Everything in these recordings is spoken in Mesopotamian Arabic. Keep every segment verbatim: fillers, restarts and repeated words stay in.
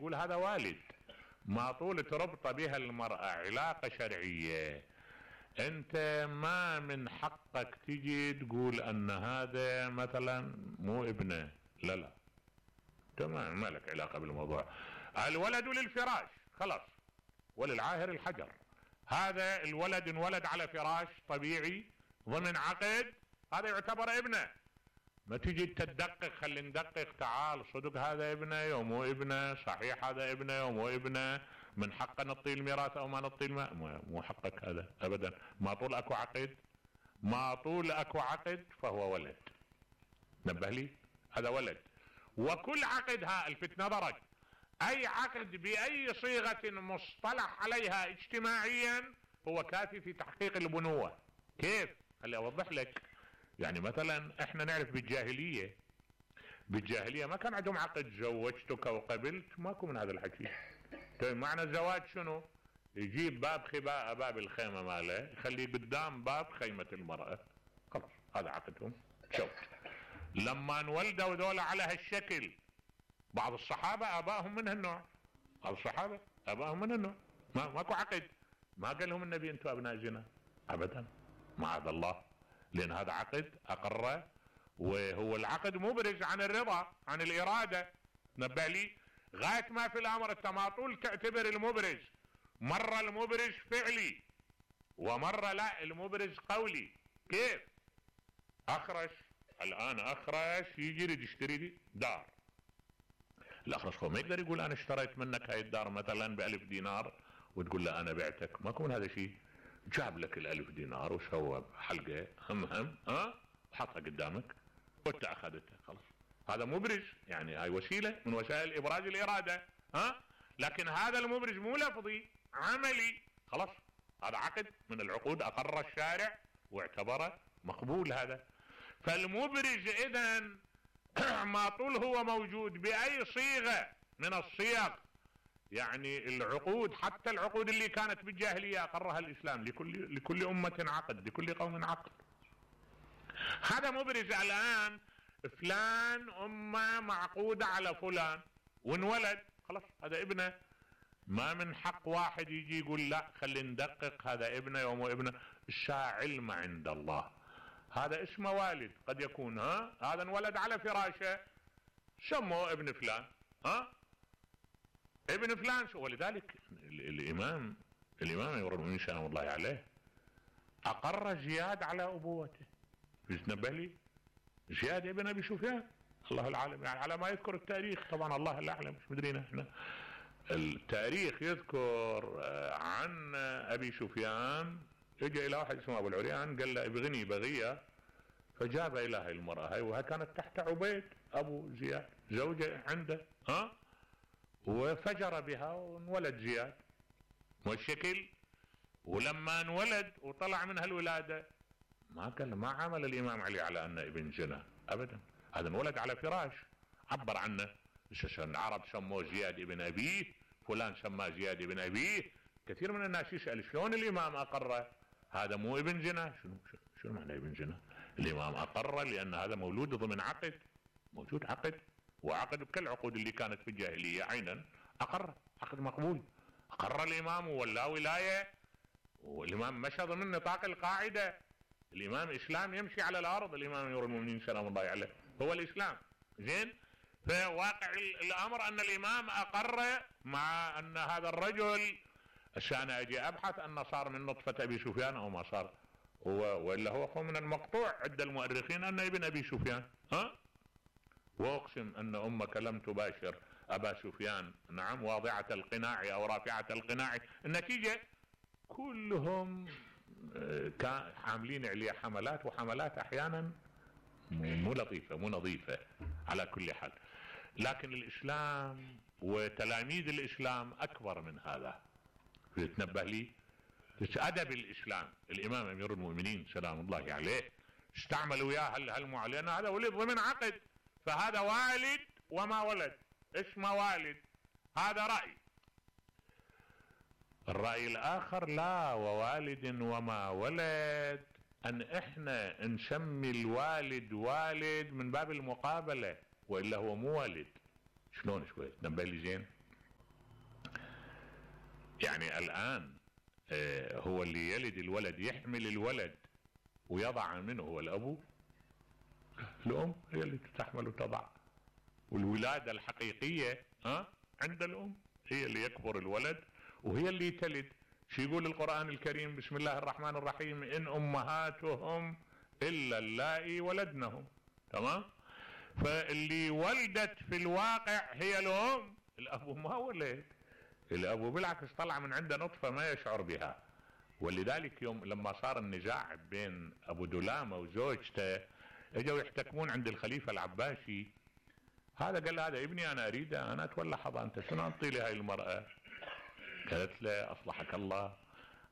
نقول هذا والد. ما طول تربط بها المرأة علاقة شرعية انت ما من حقك تجي تقول ان هذا مثلا مو ابنه. لا لا تمام، ما لك علاقة بالموضوع. الولد للفراش خلاص، وللعاهر الحجر. هذا الولد انولد على فراش طبيعي ضمن عقد، هذا يعتبر ابنه. ما تجي تدقق، خلي ندقق، تعال صدق هذا ابنه يوم مو ابنه، صحيح هذا ابنه يوم مو ابنه، من حقه نعطيه الميراث او ما نعطيه الماء. مو حقك هذا ابدا. ما طول اكو عقد، ما طول اكو عقد فهو ولد. نبه لي، هذا ولد. وكل عقد، ها الفت نظرك، اي عقد باي صيغة مصطلح عليها اجتماعيا هو كافي في تحقيق البنوة. كيف؟ خلي اوضح لك. يعني مثلا احنا نعرف بالجاهلية، بالجاهلية ما كان عندهم عقد زوجتك وقبلت، ماكو من هذا الحكي. طيب معنى الزواج شنو؟ يجيب باب خباء باب الخيمة ماله يخليه قدام باب خيمة المرأة، خلاص هذا عقدهم. شوف لما انولدوا ذولا على هالشكل، بعض الصحابة ابائهم من هالنوع، بعض الصحابة ابائهم من هالنوع، ما ماكو عقد. ما قال لهم النبي انتم ابناء زنا ابدا، معاذ الله، لان هذا عقد اقره، وهو العقد مبرز عن الرضا عن الارادة. نبه لي، غاية ما في الامر انت ما طول تعتبر المبرز مرة المبرز فعلي ومرة لا المبرز قولي. كيف؟ اخرش الان، اخرش يجي يريد يشتري لي دار، الاخرش هو ما يقدر يقول انا اشتريت منك هاي الدار مثلا بألف دينار وتقول له انا بعتك، ماكو من هذا شيء. جاب لك الالف دينار وسوى حلقة هم هم ها وحطها قدامك وانت اخذتها، خلاص هذا مبرز، يعني هاي وسيلة من وسائل ابراز الارادة. ها لكن هذا المبرز مو لفظي عملي، خلاص هذا عقد من العقود اقر الشارع واعتبره مقبول. هذا فالمبرز اذا ما طول هو موجود باي صيغة من الصيغ، يعني العقود حتى العقود اللي كانت بالجاهلية اقرها الاسلام، لكل لكل امة عقد، لكل قوم عقد. هذا مبرز. الان فلان امه معقودة على فلان وانولد، خلاص هذا ابنه. ما من حق واحد يجي يقول لا خلي ندقق هذا ابنه يوم ابنه. الشاع علم عند الله، هذا اسمه والد قد يكون، ها هذا انولد على فراشه سموه ابن فلان، ها ابن فلان. ولذلك الامام الامام امير المؤمنين سلام الله عليه اقر زياد على ابوته. تنبه لي، زياد ابن ابي سفيان، الله العالم يعني على ما يذكر التاريخ، طبعا الله الاعلم مش مدرينا احنا. التاريخ يذكر عن ابي سفيان اجى الى واحد اسمه ابو العريان قال له ابغني بغية، فجاب الى هاي المرأة هاي، وها كانت تحت عبيد ابو زياد زوجة عنده، ها وفجر بها وانولد زياد والشكل. ولما انولد وطلع منها الولادة ما قال ما عمل الامام علي على انه ابن زنا ابدا، هذا انولد على فراش عبر عنه. العرب سموه زياد ابن ابيه، فلان سماه زياد ابن ابيه. كثير من الناس يسأل شلون الامام اقره هذا مو ابن زنا؟ شنو شنو معنى ابن زنا؟ الامام اقره لان هذا مولود ضمن عقد، موجود عقد، وعقد كالعقود اللي كانت في الجاهلية عينا اقر، عقد مقبول. اقر الامام ولا ولاية، والامام مشى ضمن نطاق القاعدة. الامام اسلام يمشي على الارض، الامام امير المؤمنين سلام الله عليه هو الاسلام. زين، فواقع الامر ان الامام اقر مع ان هذا الرجل عشان اجي ابحث انه صار من نطفة ابي سفيان او ما صار، هو والا هو من المقطوع عند المؤرخين انه ابن ابي سفيان، ها واقسم ان امك لم تباشر ابا سفيان، نعم واضعة القناع او رافعة القناع. النتيجة كلهم كان عاملين عليه حملات، وحملات احيانا مو لطيفة مو نظيفة على كل حال. لكن الاسلام وتلاميذ الاسلام اكبر من هذا. تنبه لي، ادب الاسلام. الامام امير المؤمنين سلام الله عليه استعمل وياه هالمعلن، هذا ولد ضمن عقد، فهذا والد وما ولد اسمه والد. هذا رأي. الرأي الاخر لا، ووالد وما ولد ان احنا نسمي الوالد والد من باب المقابلة، والا هو مو والد. شلون شوي تنبه لي زين؟ يعني الآن هو اللي يلد الولد يحمل الولد ويضع منه هو الأب؟ الأم هي اللي تحمل وتضع. والولادة الحقيقية ها عند الأم، هي اللي يكبر الولد وهي اللي تلد. شو يقول القرآن الكريم؟ بسم الله الرحمن الرحيم: إن أمهاتهم إلا اللائي ولدنهم. تمام؟ فاللي ولدت في الواقع هي الأم، الأب ما ولد. الأب بالعكس طلع من عنده نطفة ما يشعر بها. ولذلك يوم لما صار النزاع بين أبو دلامة وزوجته اجوا يحتكمون عند الخليفة العباسي، هذا قال له: هذا ابني أنا أريده، أنا أتولى حضانته، شنو أنطي لهاي المرأة؟ قالت له: أصلحك الله،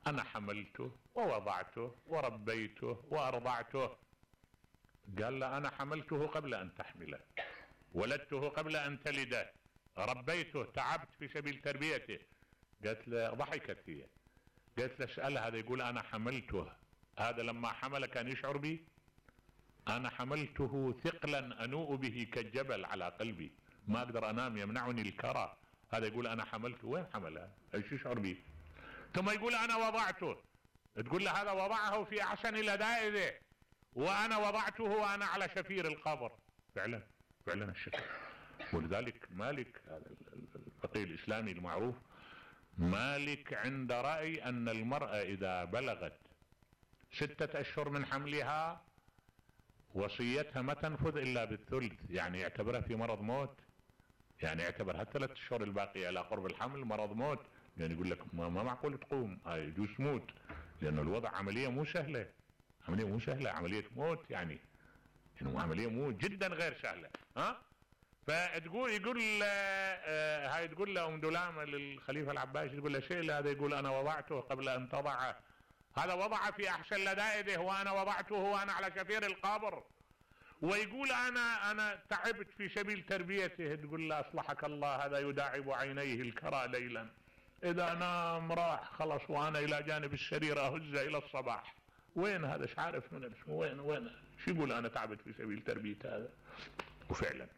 أنا حملته ووضعته وربيته وأرضعته. قال له: أنا حملته قبل أن تحمله، ولدته قبل أن تلده، ربيته، تعبت في سبيل تربيته. قالت له، ضحكت هي، قالت له: اسأل هذا يقول أنا حملته، هذا لما حمل كان يشعر بي؟ أنا حملته ثقلا أنوء به كالجبل على قلبي، ما أقدر أنام يمنعني الكرى. هذا يقول أنا حملته، وين حمله؟ ايش يشعر بي؟ ثم يقول أنا وضعته، تقول له هذا وضعه في أحسن لذائذه، وأنا وضعته وأنا على شفير القبر. فعلا فعلا الشكل. ولذلك مالك الفقيه الإسلامي المعروف، مالك عند رأي أن المرأة إذا بلغت ستة أشهر من حملها وصيتها ما تنفذ إلا بالثلث، يعني يعتبرها في مرض موت، يعني يعتبرها الثلاث أشهر الباقية إلى قرب الحمل مرض موت. يعني يقول لك ما, ما معقول تقوم، هاي يجوز تموت، لأن الوضع عملية مو سهلة، عملية مو سهلة، عملية موت، يعني يعني عملية مو جدا غير سهلة. ها فتقول يقول آه هاي تقول له ام دلامه للخليفه العباسي، تقول له شيء، هذا يقول انا وضعته قبل ان تضعه، هذا وضع في احسن لذائذه وانا وضعته وانا على شفير القبر، ويقول انا انا تعبت في سبيل تربيته. تقول له اصلحك الله، هذا يداعب عينيه الكرى ليلا، اذا نام راح خلص وانا الى جانب السرير اهز الى الصباح. وين هذا؟ ايش عارف من اسمه؟ وين وين شو يقول انا تعبت في سبيل تربيه هذا؟ وفعلا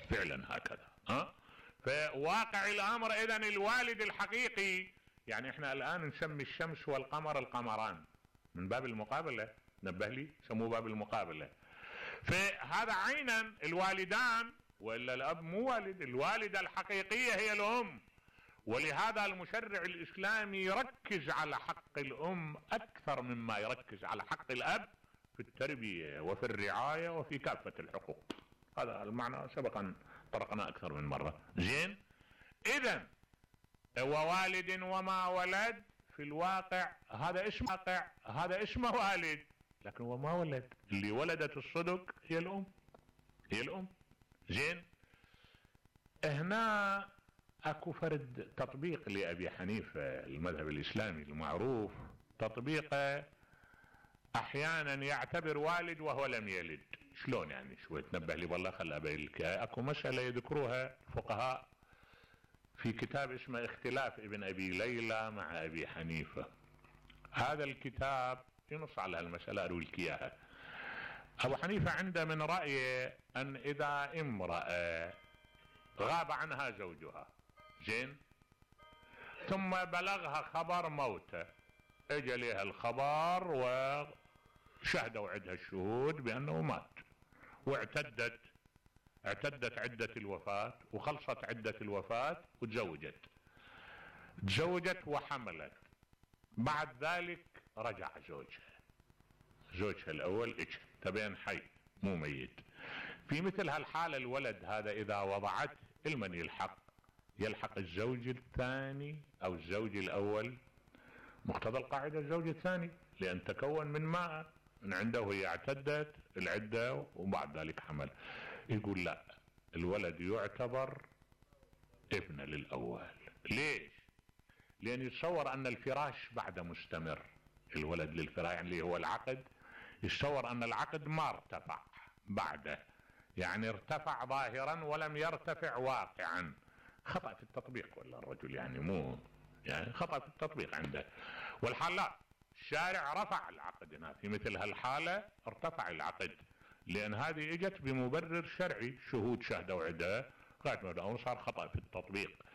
فعلا هكذا. ها فواقع الامر اذا الوالد الحقيقي، يعني احنا الان نسمي الشمس والقمر القمران من باب المقابله، نبه لي سموه باب المقابله. فهذا عينا الوالدان، والا الاب مو والد، الوالده الحقيقيه هي الام. ولهذا المشرع الاسلامي يركز على حق الام اكثر مما يركز على حق الاب في التربيه وفي الرعايه وفي كافه الحقوق. هذا المعنى سبقا طرقنا اكثر من مره. زين، اذا ووالد وما ولد في الواقع هذا اسمه واقع، هذا اسمه والد، لكن هو ما ولد. اللي ولدت الصدق هي الام، هي الام. زين، هنا اكو فرد تطبيق لابي حنيفه المذهب الاسلامي المعروف، تطبيقه احيانا يعتبر والد وهو لم يلد. شلون يعني؟ شوي تنبه لي والله، خل ابين لك. اكو مساله يذكروها الفقهاء في كتاب اسمه اختلاف ابن ابي ليلى مع ابي حنيفه. هذا الكتاب ينص على هالمساله، اروي لك اياها. ابو حنيفه عنده من رايه ان اذا امراه غاب عنها زوجها، زين، ثم بلغها خبر موته، اجى لها الخبر وشهدوا عندها الشهود بانه مات، واعتدت اعتدت عدة الوفاة وخلصت عدة الوفاة وتزوجت تزوجت وحملت. بعد ذلك رجع زوجها، زوجها الاول اجى تبين حي مو ميت. في مثل هالحالة الولد هذا اذا وضعته المن يلحق؟ يلحق الزوج الثاني او الزوج الاول، مقتضى القاعدة الزوج الثاني، لان تكون من ماء من عنده وهي اعتدت العدة وبعد ذلك حمل. يقول لا، الولد يعتبر ابن للاول. ليش؟ لان يتصور ان الفراش بعد مستمر، الولد للفراش يعني اللي هو العقد، يتصور ان العقد ما ارتفع بعده، يعني ارتفع ظاهرا ولم يرتفع واقعا. خطأ في التطبيق ولا الرجل، يعني مو يعني خطأ في التطبيق عنده. والحال لا، الشارع رفع العقد هنا، في مثل هالحالة ارتفع العقد، لان هذه اجت بمبرر شرعي، شهود شهدوا عدة، قاعد صار خطأ في التطبيق.